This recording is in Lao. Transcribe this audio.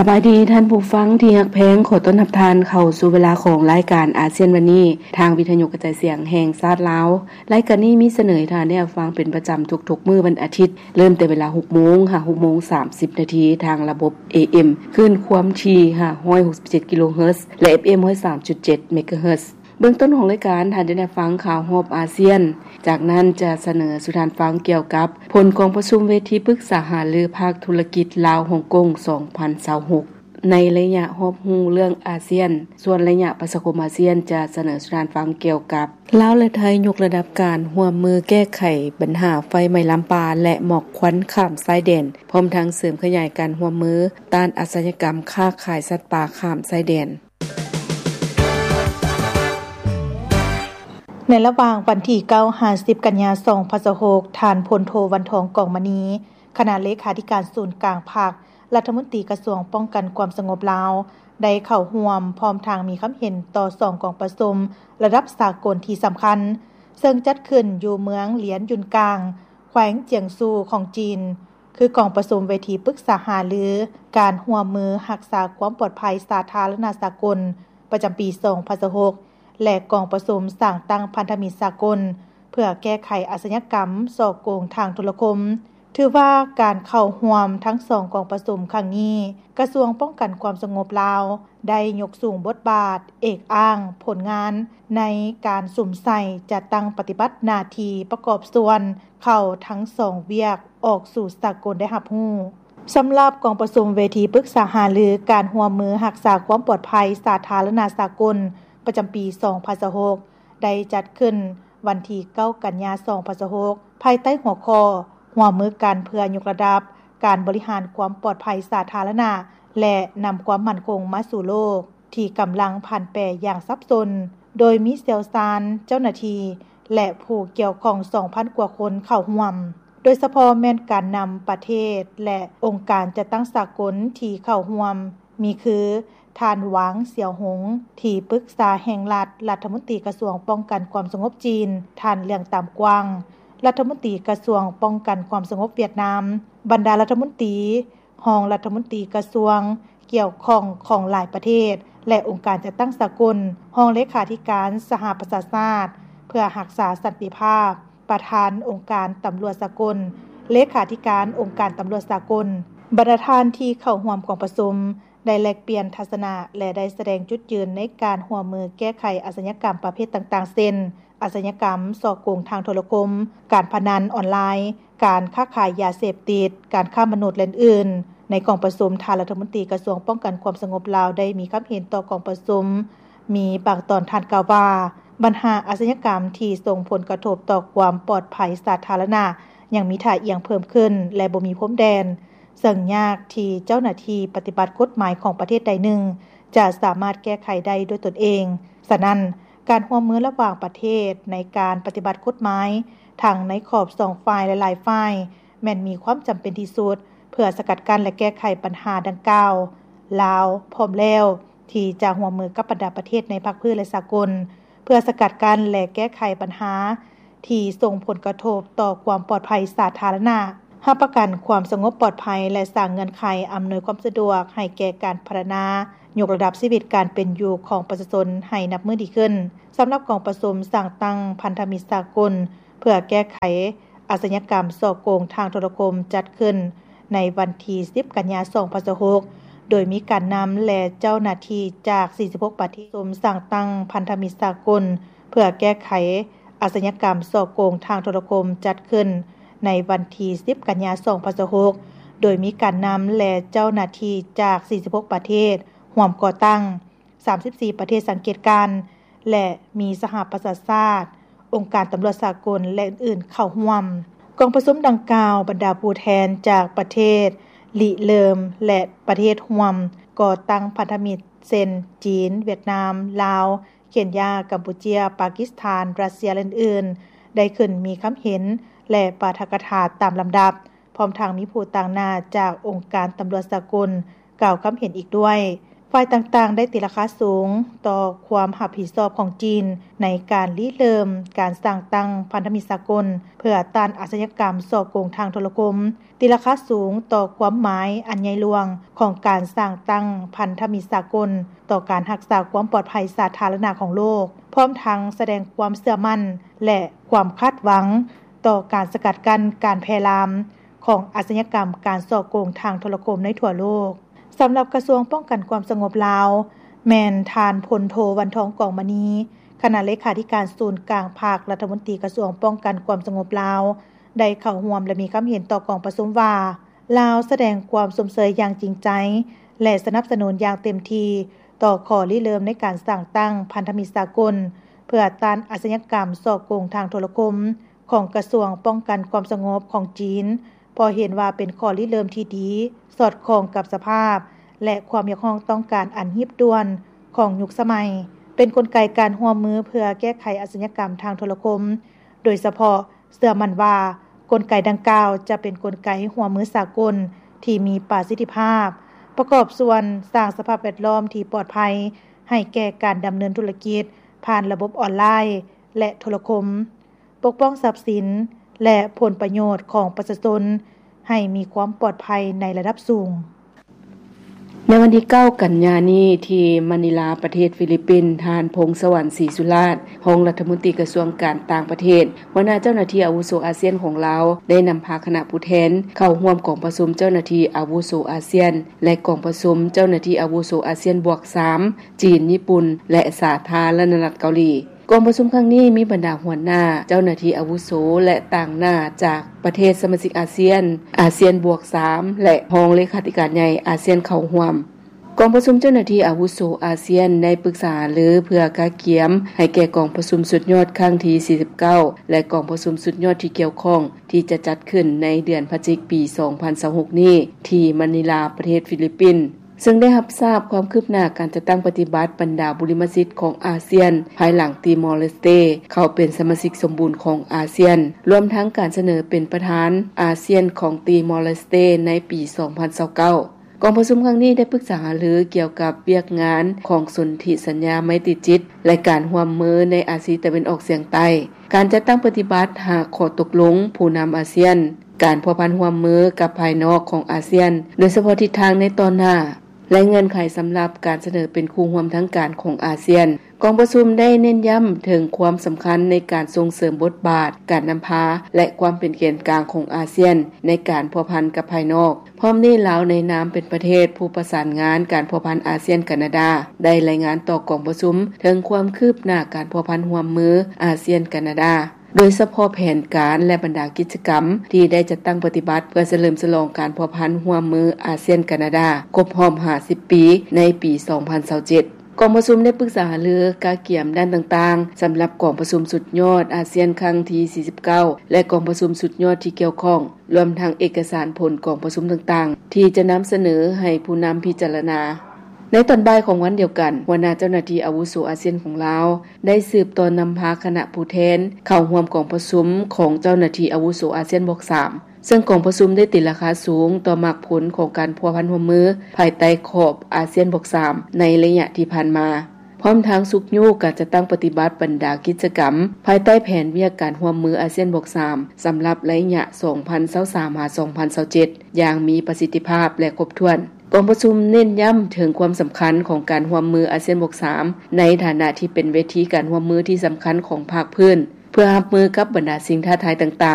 ສະບາຍດີທ່ານຜູ້ຟັງທີ່ຮັກແພງ, ຂໍຕ້ອນຮັບທ່ານເຂົ້າສູ່ເວລາຂອງລາຍການອາຊຽນວັນນີ້ ທາງວິທະຍຸກະຈາຍສຽງແຫ່ງຊາດລາວ. ລາຍການນີ້ມີສະເໜີໃຫ້ທ່ານໄດ້ຮັບຟັງເປັນປະຈຳທຸກໆມື້ວັນອາທິດ, ເລີ່ມແຕ່ເວລາຫົກໂມງຫາຫົກໂມງສາມສິບນາທີ ທາງລະບົບ ເອເອັມ ຄື້ນຄວາມຖີ່ຫ້າຮ້ອຍຫົກສິບເຈັດກິໂລເຮີດ ແລະ ເອັຟເອັມ ຮ້ອຍສາມຈຸດເຈັດເມກາເຮີດ. ເບື້ອງຕົ້ນຂອງລາຍການ, ທ່ານຈະໄດ້ຟັງຂ່າວຮອບອາຊຽນ, ຈາກນັ້ນຈະສະເໜີສູ່ທ່ານຟັງກ່ຽວກັບຜົນກອງປະຊຸມເວທີປຶກສາຫາລືພາກທຸລະກິດລາວ-ຮົງກົງ ສອງພັນຊາວຫົກ ໃນໄລຍະຮອບຮູ້ເລື່ອງອາຊຽນ, ສ່ວນໄລຍະປະຊາຄົມອາຊຽນຈະສະເໜີສູ່ທ່ານຟັງກ່ຽວກັບ ລາວ ແລະ ໄທ ຍົກລະດັບການຮ່ວມມືແກ້ໄຂບັນຫາໄຟໄໝ້ລາມປ່າ ແລະ ໝອກຄວັນຂ້າມຊາຍແດນ, ພ້ອມທັງເສີມຂະຫຍາຍການຮ່ວມມືຕ້ານອາຊະຍາກຳຄ້າຂາຍສັດປ່າຂ້າມຊາຍແດນ. ໃນລະຫວ່າງວັນທີເກົ້າຫາສິບກັນຍາສອງພັນຊາວຫົກ, ທ່ານ ພົນໂທ ວັນທອງ ກອງມະນີ ຄະນະເລຂາທິການສູນກາງພັກ, ລັດຖະມົນຕີກະຊວງປ້ອງກັນຄວາມສະຫງົບລາວ ໄດ້ເຂົ້າຮ່ວມ ພ້ອມທັງມີຄຳເຫັນຕໍ່ສອງກອງປະຊຸມລະດັບສາກົນທີ່ສຳຄັນ, ເຊິ່ງຈັດຂຶ້ນຢູ່ເມືອງຫຼຽນຢຸນກາງ, ແຂວງຈຽງຊູຂອງຈີນ, ຄືກອງປະຊຸມເວທີປຶກສາຫາລືການຮ່ວມມືຮັກສາຄວາມປອດໄພສາທາລະນະສາກົນ ປະຈຳປີສອງພັນຊາວຫົກ ແລະ ກອງປະຊຸມສ້າງຕັ້ງພັນທະມິດສາກົນ ເພື່ອແກ້ໄຂອາຊະຍາກຳສໍ້ໂກງທາງໂທລະຄົມ. ຖືວ່າການເຂົ້າຮ່ວມທັງສອງກອງປະຊຸມຄັ້ງນີ້, ກະຊວງປ້ອງກັນຄວາມສະຫງົບລາວ ໄດ້ຍົກສູງບົດບາດ, ເອກອ້າງຜົນງານໃນການສຸມໃສ່ຈັດຕັ້ງປະຕິບັດໜ້າທີ່ປະກອບສ່ວນເຂົ້າທັງສອງວຽກອອກສູ່ສາກົນໄດ້ຮັບຮູ້. ສຳລັບກອງປະຊຸມເວທີປຶກສາຫາລືການຮ່ວມມືຮັກສາຄວາມປອດໄພສາທາລະນະສາກົນ ປະຈຳປີສອງພັນຊາວຫົກ ໄດ້ຈັດຂຶ້ນວັນທີເກົ້າກັນຍາສອງພັນຊາວຫົກ ພາຍໃຕ້ຫົວຂໍ້ ຮ່ວມມືກັນເພື່ອຍົກລະດັບການບໍລິຫານຄວາມປອດໄພສາທາລະນະ ແລະ ນຳຄວາມໝັ້ນຄົງມາສູ່ໂລກ ທີ່ກຳລັງຜັນແປຢ່າງສັບສົນ, ໂດຍມີຊ່ຽວຊານ, ເຈົ້າໜ້າທີ່ ແລະ ຜູ້ກ່ຽວຂ້ອງສອງພັນກວ່າຄົນເຂົ້າຮ່ວມ, ໂດຍສະເພາະແມ່ນການນຳປະເທດ ແລະ ອົງການຈັດຕັ້ງສາກົນທີ່ເຂົ້າຮ່ວມ ມີຄື ທ່ານ ຫວາງ ສຽວຫົງ ທີ່ປຶກສາແຫ່ງລັດ ລັດຖະມົນຕີກະຊວງປ້ອງກັນຄວາມສະຫງົບຈີນ, ທ່ານ ເລື່ອງຕາມກວາງ ລັດຖະມົນຕີກະຊວງປ້ອງກັນຄວາມສະຫງົບຫວຽດນາມ, ບັນດາລັດຖະມົນຕີ, ຮອງລັດຖະມົນຕີກະຊວງກ່ຽວຂ້ອງຂອງຫຼາຍປະເທດ ແລະ ອົງການຈັດຕັ້ງສາກົນ, ຮອງເລຂາທິການສະຫະປະຊາຊາດເພື່ອຮັກສາສັນຕິພາບ, ປະທານອົງການຕຳຫຼວດສາກົນ, ເລຂາທິການອົງການຕຳຫຼວດສາກົນ. ບັນດາທ່ານທີ່ເຂົ້າຮ່ວມກອງປະຊຸມ ໄດ້ແລກປ່ຽນທັດສະນະ ແລະ ໄດ້ສະແດງຈຸດຢືນໃນການຮ່ວມມືແກ້ໄຂອາຊະຍາກຳປະເພດຕ່າງໆ ເຊັ່ນ ອາຊະຍາກຳສໍ້ໂກງທາງໂທລະຄົມ, ການພະນັນອອນລາຍ, ການຄ້າຂາຍຢາເສບຕິດ, ການຄ້າມະນຸດ ແລະ ອື່ນໆ. ໃນກອງປະຊຸມ, ທ່ານລັດຖະມົນຕີກະຊວງປ້ອງກັນຄວາມສະຫງົບລາວ ໄດ້ມີຄຳເຫັນຕໍ່ກອງປະຊຸມ ມີບາງຕອນທ່ານກ່າວວ່າ, ບັນຫາອາຊະຍາກຳທີ່ສົ່ງຜົນກະທົບຕໍ່ຄວາມປອດໄພສາທາລະນະ ຍັງມີທ່າອ່ຽງເພີ່ມຂຶ້ນ ແລະ ບໍ່ມີພົມແດນ, ເຊິ່ງຍາກທີ່ເຈົ້າໜ້າທີ່ປະຕິບັດກົດໝາຍຂອງປະເທດໃດໜຶ່ງ ຈະສາມາດແກ້ໄຂໄດ້ດ້ວຍຕົນເອງ. ສະນັ້ນ, ການຮ່ວມມືລະຫວ່າງປະເທດໃນການປະຕິບັດກົດໝາຍ ທັງໃນຂອບສອງຝ່າຍ ແລະ ຫຼາຍຝ່າຍ ແມ່ນມີຄວາມຈຳເປັນທີ່ສຸດ ເພື່ອສະກັດກັ້ນ ແລະ ແກ້ໄຂບັນຫາດັ່ງກ່າວ. ລາວພ້ອມແລ້ວທີ່ຈະຮ່ວມມືກັບບັນດາປະເທດໃນພາກພື້ນ ແລະ ສາກົນ ເພື່ອສະກັດກັ້ນ ແລະ ແກ້ໄຂບັນຫາ ທີ່ສົ່ງຜົນກະທົບຕໍ່ຄວາມປອດໄພສາທາລະນະ, ຮັບປະກັນຄວາມສະຫງົບປອດໄພ ແລະ ສ້າງເງື່ອນໄຂອຳນວຍຄວາມສະດວກໃຫ້ແກ່ການພັດທະນາ ຍົກລະດັບຊີວິດການເປັນຢູ່ຂອງປະຊາຊົນໃຫ້ນັບມື້ດີຂຶ້ນ. ສຳລັບກອງປະຊຸມສ້າງຕັ້ງພັນທະມິດສາກົນ ເພື່ອແກ້ໄຂອາຊະຍາກຳສໍ້ໂກງທາງໂທລະຄົມ ຈັດຂຶ້ນໃນວັນທີສິບ ກັນຍາ ສອງພັນຊາວຫົກ ໂດຍມີການນຳ ແລະ ເຈົ້າໜ້າທີ່ຈາກ ສີ່ສິບຫົກ ປະເທດ. ປະຊຸມສ້າງຕັ້ງພັນທະມິດສາກົນ ເພື່ອແກ້ໄຂ ອາຊະຍາກຳສໍ້ໂກງທາງໂທລະຄົມ ຈັດຂຶ້ນໃນວັນທີສິບ ກັນຍາ ສອງພັນຊາວຫົກ ໂດຍມີການນຳ ແລະ ເຈົ້າໜ້າທີ່ຈາກ ສີ່ສິບຫົກ ປະເທດ ຮ່ວມກໍ່ຕັ້ງ, ສາມສິບສີ່ ປະເທດສັງເກດການ ແລະ ມີສະຫະປະຊາຊາດ, ອົງການຕຳຫຼວດສາກົນ ແລະ ອື່ນໆ ເຂົ້າຮ່ວມ. ກອງປະຊຸມດັ່ງກ່າວ, ບັນດາຜູ້ແທນຈາກປະເທດລິເລີ່ມ ແລະ ປະເທດຮ່ວມກໍ່ຕັ້ງພັນທະມິດ ເຊັ່ນ ຈີນ, ຫວຽດນາມ, ລາວ, ເຄນຢາ, ກຳປູເຈຍ, ປາກິສຖານ, ຣັດເຊຍ ແລະ ອື່ນໆ ໄດ້ຂຶ້ນມີຄຳເຫັນ ແລະ ປາຖະກະຖາຕາມລຳດັບ, ພ້ອມທັງມີຜູ້ຕາງໜ້າຈາກອົງການຕຳຫຼວດສາກົນກ່າວຄຳເຫັນອີກດ້ວຍ. ຝ່າຍຕ່າງໆ ໄດ້ຕີລາຄາສູງຕໍ່ຄວາມຮັບຜິດຊອບຂອງຈີນ ໃນການລິເລີ່ມການສ້າງຕັ້ງພັນທະມິດສາກົນ ເພື່ອຕ້ານອາຊຍາກຳສໍ້ໂກງທາງໂທລະຄົມ, ຕີລາຄາສູງຕໍ່ຄວາມໝາຍອັນໃຫຍ່ຫຼວງຂອງການສ້າງຕັ້ງພັນທະມິດສາກົນ ຕໍ່ການຮັກສາຄວາມປອດໄພສາທາລະນະຂອງໂລກ, ພ້ອມທັງສະແດງຄວາມເຊື່ອໝັ້ນ ແລະ ຄວາມຄາດຫວັງຕໍ່ການສະກັດກັ້ນການແຜ່ລາມຂອງອາຊຍາກຳການສໍ້ໂກງທາງໂທລະຄົມໃນທົ່ວໂລກ. ສຳລັບກະຊວງປ້ອງກັນຄວາມສະຫງົບລາວ ແມ່ນທ່ານ ພົນໂທ ວັນທອງ ກອງມະນີ, ຄະນະເລຂາທິການສູນກາງພັກ, ລັດຖະມົນຕີກະຊວງປ້ອງກັນຄວາມສະຫງົບລາວ ໄດ້ເຂົ້າຮ່ວມ ແລະ ມີຄຳເຫັນຕໍ່ກອງປະຊຸມວ່າ ລາວສະແດງຄວາມຊົມເຊີຍຢ່າງຈິງໃຈ ແລະ ສະໜັບສະໜູນຢ່າງເຕັມທີ່ຕໍ່ຂໍ້ລິເລີ່ມໃນການສ້າງຕັ້ງພັນທະມິດສາກົນ ເພື່ອຕ້ານອາຊຍາກຳສໍ້ໂກງທາງໂທລະຄົມ ຂອງກະຊວງປ້ອງກັນຄວາມສະຫງົບຂອງຈີນ, ເພາະເຫັນວ່າເປັນຂໍ້ລິເລີ່ມທີ່ດີ, ສອດຄ່ອງກັບສະພາບ ແລະ ຄວາມຮຽກຮ້ອງຕ້ອງການອັນຮີບດ່ວນຂອງຍຸກສະໄໝ, ເປັນກົນໄກການຮ່ວມມືເພື່ອແກ້ໄຂອາຊຍາກຳທາງໂທລະຄົມ, ໂດຍສະເພາະເຊື່ອໝັ້ນວ່າ ກົນໄກດັ່ງກ່າວຈະເປັນກົນໄກຮ່ວມມືສາກົນທີ່ມີປະສິດທິພາບ, ປະກອບສ່ວນສ້າງສະພາບແວດລ້ອມທີ່ປອດໄພໃຫ້ແກ່ການດຳເນີນທຸລະກິດຜ່ານລະບົບອອນລາຍ ແລະ ໂທລະຄົມ. ປົກປ້ອງຊັບສິນ ແລະ ຜົນປະໂຫຍດຂອງປະຊາຊົນໃຫ້ມີຄວາມປອດໄພໃນລະດັບສູງ. ໃນວັນທີເກົ້າ ກັນຍານີ້ ທີ່ມະນີລາ ປະເທດຟີລິບປິນ, ທ່ານ ພົງສະຫວັນ ສີສຸລາດ, ຮອງລັດຖະມົນຕີກະຊວງການຕ່າງປະເທດ, ຫົວໜ້າເຈົ້າໜ້າທີ່ອາວຸໂສອາຊຽນຂອງລາວ ໄດ້ນຳພາຄະນະຜູ້ແທນເຂົ້າຮ່ວມກອງປະຊຸມເຈົ້າໜ້າທີ່ອາວຸໂສອາຊຽນ ແລະ ກອງປະຊຸມເຈົ້າໜ້າທີ່ອາວຸໂສອາຊຽນບວກສາມ ຈີນ, ຍີ່ປຸ່ນ ແລະ ສາທາລະນະລັດເກົາຫຼີ. ກອງປະຊຸມຄັ້ງນີ້ມີບັນດາຫົວໜ້າ, ເຈົ້າໜ້າທີ່ອາວຸໂສ ແລະ ຕາງໜ້າຈາກປະເທດສະມາຊິກອາຊຽນ, ອາຊຽນບວກສາມ ແລະ ຮອງເລຂາທິການໃຫຍ່ອາຊຽນເຂົ້າຮ່ວມ. ກອງປະຊຸມເຈົ້າໜ້າທີ່ອາວຸໂສອາຊຽນໄດ້ປຶກສາຫາລືເພື່ອກະກຽມໃຫ້ແກ່ກອງປະຊຸມສຸດຍອດຄັ້ງທີສີ່ສິບເກົ້າ ແລະ ກອງປະຊຸມສຸດຍອດທີ່ກ່ຽວຂ້ອງທີ່ຈະຈັດຂຶ້ນໃນເດືອນພະຈິກປີສອງພັນຊາວຫົກນີ້ ທີ່ມະນີລາ ປະເທດຟີລິບປິນ. ເຊິ່ງໄດ້ຮັບຊາບຄວາມຄືບໜ້າການຈັດຕັ້ງປະຕິບັດບັນດາບຸລິມະສິດຂອງອາຊຽນ ພາຍຫຼັງຕີມໍເລສເຕເຂົ້າເປັນສະມາຊິກສົມບູນຂອງອາຊຽນ, ລວມທັງການສະເໜີເປັນປະທານອາຊຽນຂອງຕີມໍເລສເຕໃນປີສອງພັນຊາວເກົ້າ. ກອງປະຊຸມຄັ້ງນີ້ໄດ້ປຶກສາຫາລືກ່ຽວກັບວຽກງານຂອງສົນທິສັນຍາໄມຕີຈິດ ແລະ ການຮ່ວມມືໃນອາຊີຕາເວັນອອກສຽງໃຕ້, ການຈັດຕັ້ງປະຕິບັດຫ້າຂໍ້ຕົກລົງຜູ້ນຳອາຊຽນ, ການພົວພັນຮ່ວມມືກັບພາຍນອກຂອງອາຊຽນ, ໂດຍສະເພາະທິດທາງໃນຕໍ່ໜ້າ ແລະ ເງື່ອນໄຂສຳລັບການສະເໜີເປັນຄູ່ຮ່ວມທາງການຂອງອາຊຽນ. ກອງປະຊຸມໄດ້ເນັ້ນຢ້ຳເຖິງຄວາມສຳຄັນໃນການສົ່ງເສີມບົດບາດການນຳພາ ແລະ ຄວາມເປັນແກນກາງຂອງອາຊຽນໃນການພົວພັນກັບພາຍນອກ. ພ້ອມນີ້, ລາວໃນນາມເປັນປະເທດຜູ້ປະສານງານການພົວພັນອາຊຽນ-ການາດາ ໄດ້ລາຍງານຕໍ່ກອງປະຊຸມເຖິງຄວາມຄືບໜ້າການພົວພັນຮ່ວມມືອາຊຽນ-ການາດາ, ໂດຍສະເພາະແຜນການ ແລະ ບັນດາກິດຈະກຳທີ່ໄດ້ຈັດຕັ້ງປະຕິບັດເພື່ອສະເຫຼີມສະຫຼອງການພົວພັນຮ່ວມມືອາຊຽນ-ການາດາຄົບຮອບຫ້າສິບປີໃນປີສອງພັນຊາວເຈັດ. ກອງປະຊຸມໄດ້ປຶກສາຫາລືກະກຽມດ້ານຕ່າງໆ ສຳລັບກອງປະຊຸມສຸດຍອດອາຊຽນຄັ້ງທີສີ່ສິບເກົ້າ ແລະ ກອງປະຊຸມສຸດຍອດທີ່ກ່ຽວຂ້ອງ, ລວມທັງເອກະສານຜົນກອງປະຊຸມຕ່າງໆ ທີ່ຈະນຳສະເໜີໃຫ້ຜູ້ນຳພິຈາລະນາ. ໃນຕອນບ່າຍຂອງວັນດຽວກັນ, ຫົວໜ້າເຈົ້າໜ້າທີ່ອາວຸໂສອາຊຽນຂອງລາວ ໄດ້ສືບຕໍ່ນຳພາຄະນະຜູ້ແທນເຂົ້າຮ່ວມກອງປະຊຸມຂອງເຈົ້າໜ້າທີ່ອາວຸໂສອາຊຽນບວກສາມ, ເຊິ່ງກອງປະຊຸມໄດ້ຕີລາຄາສູງຕໍ່ໝາກຜົນຂອງການພົວພັນຮ່ວມມືພາຍໃຕ້ຂອບອາຊຽນບວກສາມໃນໄລຍະທີ່ຜ່ານມາ, ພ້ອມທັງຊຸກຍູ້ການຈັດຕັ້ງປະຕິບັດບັນດາກິດຈະກຳພາຍໃຕ້ແຜນວຽກການຮ່ວມມືອາຊຽນບວກສາມ ສຳລັບໄລຍະສອງພັນຊາວສາມ ຫາ ສອງພັນຊາວເຈັດ ຢ່າງມີປະສິດທິພາບ ແລະ ຄົບຖ້ວນ. ກອງປະຊຸມເນັ້ນຢ້ຳເຖິງຄວາມສຳຄັນຂອງການຮ່ວມມືອາຊຽນບວກສາມ ໃນຖານະທີ່ເປັນເວທີການຮ່ວມມືທີ່ສຳຄັນຂອງພາກພື້ນ ເພື່ອຮັບມືກັບບັນດາສິ່ງທ້າທາຍຕ່າງໆ